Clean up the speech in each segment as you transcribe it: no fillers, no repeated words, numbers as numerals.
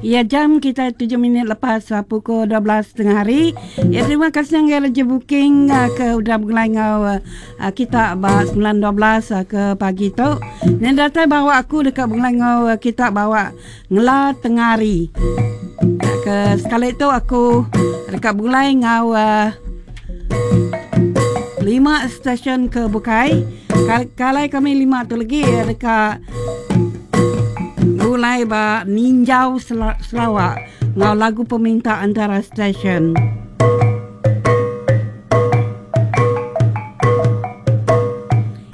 Iya jam kita 7 minit lepas uh, pukul 12 tengah hari. Ya terima kasih ngagai Raja Booking uh, ke udah begulai enggau uh, kita ba 9.12 uh, ke pagi tu. Yang datai bawa aku deka begulai enggau uh, kita bawa ngela tengah hari. Ke sekali tu aku deka begulai enggau uh, lima stesen ke bukai. Kalai kami lima tu lagi deka Gulai ba Ninjau Sarawak enggau lagu peminta antara stesen.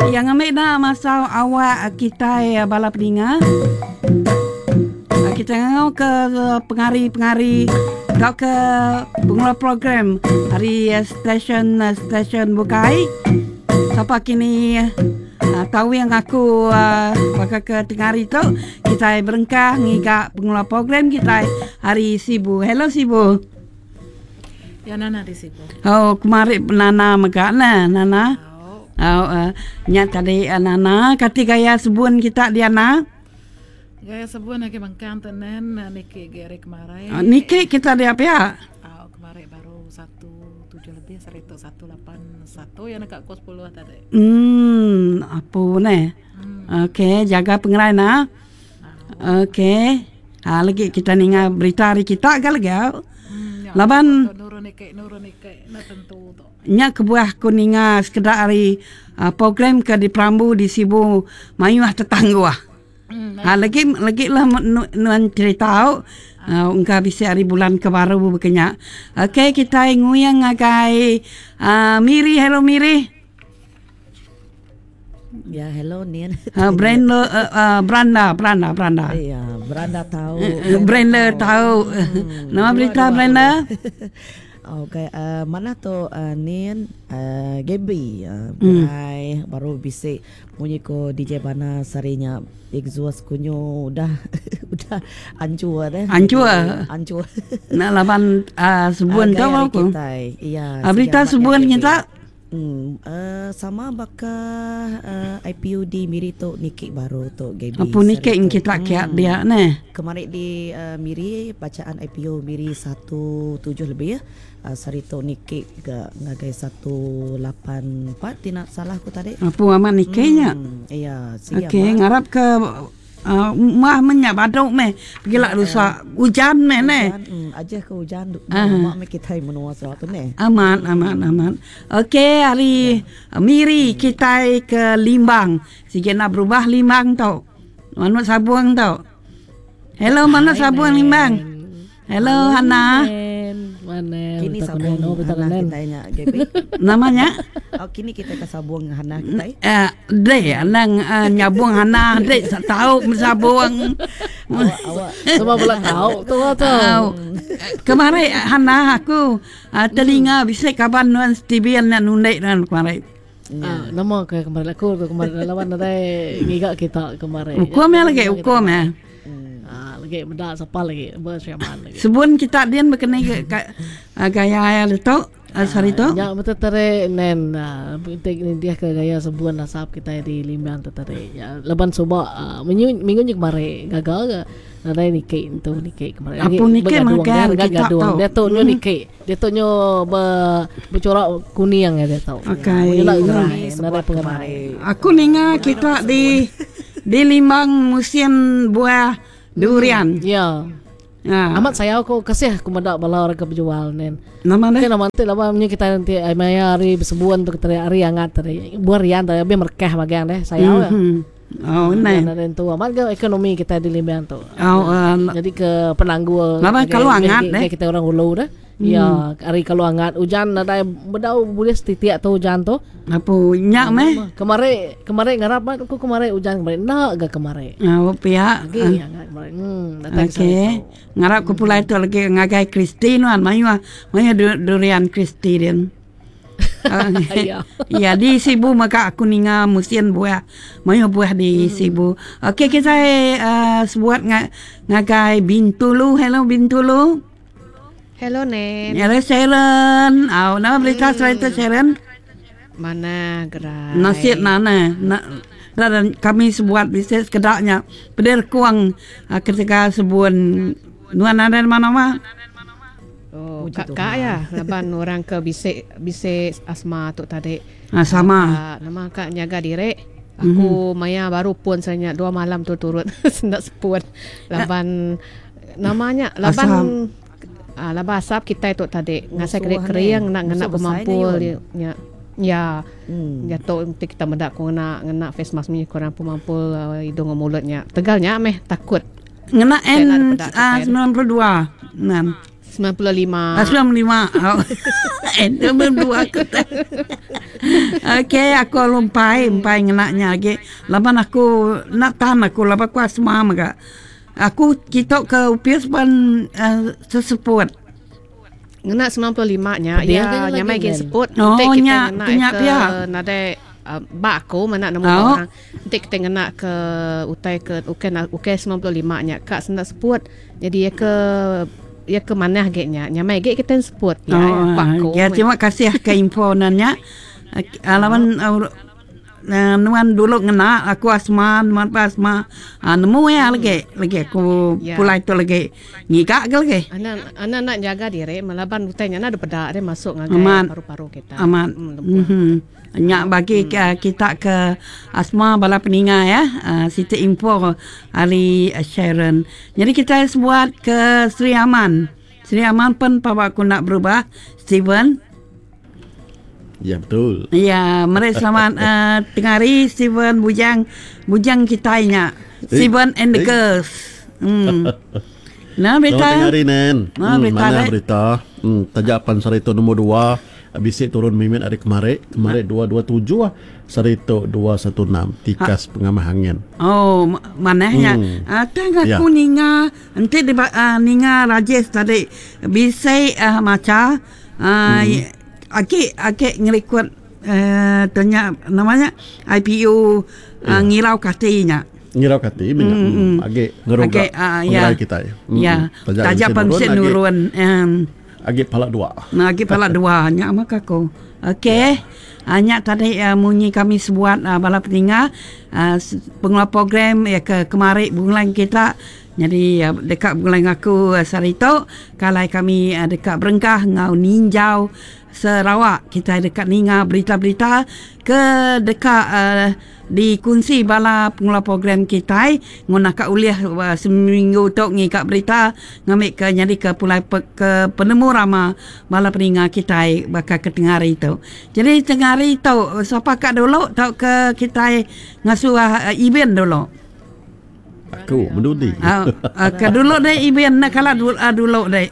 Iya ngambi enda masa awak kitai bala peninga. Kita ngangau ke pengari-pengari tauka pengeluar program ari stesen-stesen bukai. Sapa kini Tawing aku baka ke tengah hari tu kitai berengkah ngiga pengeluar program kitai ari Sibu. Hello Sibu. Ya Nana di Sibu. Oh kemari Nana mega ne Nana. Oh uh, nya tadi uh, Nana kati gaya sebun kita Diana. Gaya sebun agi mengkang tu nen niki gi ari kemari. Uh, niki kita dia pia. Oh kemari baru 1 7 lebih saritu 181 ya neka ko 10 tadi. Hmm, apu neh. Hmm. Okey, jaga pengerai nah. Okey. Ha lagi kita ninga berita hari kita ga lagi au. Hmm, ya, Laban nurun ike nurun ike na tentu tu. Nya kebuah aku ninga sekeda ari uh, program ke diperambu di Sibu mayuh tetangguh. Hmm, Ha lagi lagi lah nuan cerita au. Uh, engka bisi hari bulan ke baru baka nya. Okey kitai nguyang ngagai uh, Miri hello Miri. Ya hello Nian. Uh, Brenda uh, uh, Branda Branda Branda. Ya Branda tahu. Brenda tahu. Hmm. Nama berita Brenda? Okey, uh, mana tu uh, Nian uh, Gaby uh, mm. baru bisi Munyi ko DJ Bana sehari nya exhaust ku nyu udah udah anchur deh. Anchur. Anchur. Nak laban uh, sebun tu apa ku? Iya. Uh, berita sebun kita. Hmm, uh, sama baka uh, IPU di Miri tu niki baru tu Gaby. Apa niki kita kiak hmm. dia neh. Kemarin di uh, Miri bacaan IPU Miri 17 lebih ya. Saritu niki ga ngagai 184 ti enda salah ku tadi. Apu amat niki nya. Iya sigi Okey amat. ngarap ke uhh mah meh nya badu meh pegila rusa ujan meh neh. Ujan uhh ajih ke ujan lama meh kitai menua Sarawak tu neh. Amat amat amat. Okey ari Miri kitai ke Limbang sigi enda berubah Limbang tu. Manuk sabung tu. Hello manuk sabung Limbang. Hello Hana. Mana Kini sabung Hana kitai nya Gaby. Nama nya? Oh kini kita ke sabung Hana kitai. Eh deh anang uh, nyabung Hana deh sa tau mesabung. Awak awak. Semua bela tau tu tu. Kemari Hana aku uh, telinga bisi kaban nuan Steven nya nundek nuan kemari. Uh, nama ke kemari aku tu kemari lawan nadai ngiga kita kemari. Ukum ya lagi ukum ya. Ah, lagi meda sapa lagi ba Sri Aman lagi. Sebun kita din bekeni gaya iya ditu sehari tu. Nya betul tadi nen enti nitih ke gaya sebun asap kitai di Limbang tu tadi. Nya laban suba minggu minggu nyu kemari gaga ga nadai niki entu niki kemari. Apu niki mega kita tu. Diatu nyu niki. Diatu nyu be becorak kuning diatu. Okey. Nadai pengerai. Aku ninga kita di di Limbang musim buah durian. Ya. Ha. Amat sayau ku kasih aku meda bala orang ke bejual nen. Nama deh? Nama nanti laban nya kita nanti ai maya hari besebun tu kita hari angat tadi. Buah rian tadi lebih merekah bagian deh sayau. Mm-hmm. Oh, ne. Nah, tu amat ke ekonomi kita di Limbang tu. Oh, uh, jadi ke penanggul. Laban kalau angat deh. Kita orang hulu deh. Ya, hari kalau angat ujan nadai bedau bulih setitik tu ujan tu. Apu nya meh. Kemari kemari ngarap mat aku kemari ujan kemari enda ga kemari. Oh pia. Agi angat kemari. Hmm datai ke Okey. Ngarap ke pulai tu lagi ngagai Christy nuan mayuh mayuh durian Christy din. Ya. Ya di Sibu mega aku ninga musin buah mayuh buah di Sibu. Okey kitai uh, sebuat ngagai Bintulu. Hello Bintulu. Hello Nen. Hello Sharon. Au nama berita hmm. cerita Sharon? Mana gerai. Nasib nana. Na, dan kami sebuat bisnes kedaknya. Pedir kuang uh, ketika sebuan. Nuan nadai nama-nama? Oh, kak kak ya, laban orang ke bisi bisi asma tu tadi. Ah, sama. Kak, nama kak nyaga diri. Aku mm-hmm. maya baru pun saya dua malam tu turut sendak sepun. Laban namanya laban ah, laban asap kita tu tadi ngasai kering kering nak ngena pemampul nya. Ya. Hmm. Jatuh nanti kita medak ku ngena ngena face mask ni kurang pemampul uh, hidung dan mulutnya. Tegalnya meh takut. Ngena N 92. Enam. 95. Ah, 95. Oh. N 92 aku tak. Okey, aku lumpai, empai ngena nya lagi. Laban aku nak tahan aku laban aku asma mega. Aku kitok ke upis pun uh, seseput. Ngena 95 nya ya nyamai gin seput. Oh, Enti kita nya, ngena nya ke pia. nadai uh, ba aku mana nemu Oh. orang. Enti kita ngena ke utai ke ukai ukai 95 nya ka senda seput. Jadi ya ke ya ke manah ge nya nyamai ge kita seput ya, Oh, ya ba aku. ya terima kasih ke info nanya. Laban uh, nuan dulu ngena aku asma nuan pa asma uh, nemu ya lagi lagi aku Ya. pulai tu lagi ngiga ke lagi. Anak anak nak jaga diri melaban utai nya nak peda dia masuk ngagai Amat. paru-paru kita. Amat. Lembut. Mm-hmm. Nyak bagi hmm. kita ke asma bala peninga ya. Siti info Ali Sharon. Jadi kita buat ke Sri Aman. Sri Aman pun pawa aku nak berubah. Steven. Ya betul. Ya, mari selamat tengah hari Steven Bujang Bujang kita nya. Steven and the eh. girls. Nah, berita. Selamat tengah hari Nen. Ah, berita, mana dek. berita? Tajapan sehari itu nombor 2. Bisik turun mimit hari kemarin. Kemarin 227 lah. Sehari itu 216. Tikas pengamah angin. Oh, manahnya. Tang aku Ya. ninga enti di ninga Rajesh tadi bisa maca aki aki ngerikut tanya namanya IPU ngirau katinya. Ngirau kati minyak. Agak ngeruga. Agak ya. Pengerai kita. Ya. Tajapan bisik nurun. Agak palak dua. Nah, lagi pala dua nyak mak aku. Okey. Ya. Nyak tadi munyi kami sebuat bala peninga pengelola program ya ke kemari bulan kita. Jadi dekat bulan aku sarito kalau kami dekat berengkah ngau ninjau Sarawak kita dekat ninga berita-berita ke dekat dikunci bala pengelola program kita nguna ka uliah seminggu tok ngi kat berita ngambil ke nyadi ke pulai ke penemu rama bala peninga kita bakal ke tengah hari tu. Jadi tengah hari tu siapa kat dulu tok ke kita ngasuh event dulu. Aku mendudi. Ke dulu deh event nak kalah dulu, dulu deh.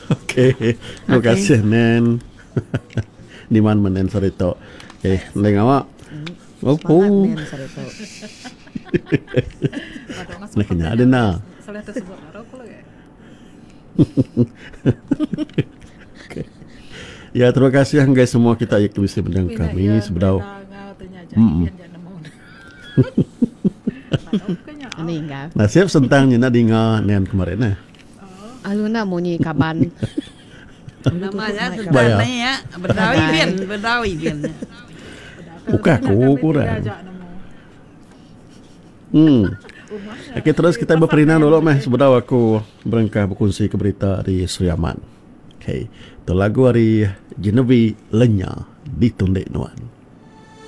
Okey. Terima kasih Nen. Di mana menen sore itu. Okey, leng awak. Oh, oh. Nen sore tu. Nak kena ada na. Salah tersebut baru aku lagi. Okey. Ya, terima kasih guys semua kita yang bisa mendengar kami sebedau. Meninggal. Nasib sentang ni nak dengar Nen kemarin eh. Alu nak munyi kaban. Namanya Bayar. sudah ni ya. Berdawi bin, berdawi bin. Bukan aku kurang. Okey, terus kita berperinang dulu meh sebedau aku berengkah berkongsi ke berita di Sri Aman. Okey, tu lagu hari Genevieve Lenya ditundek nuan.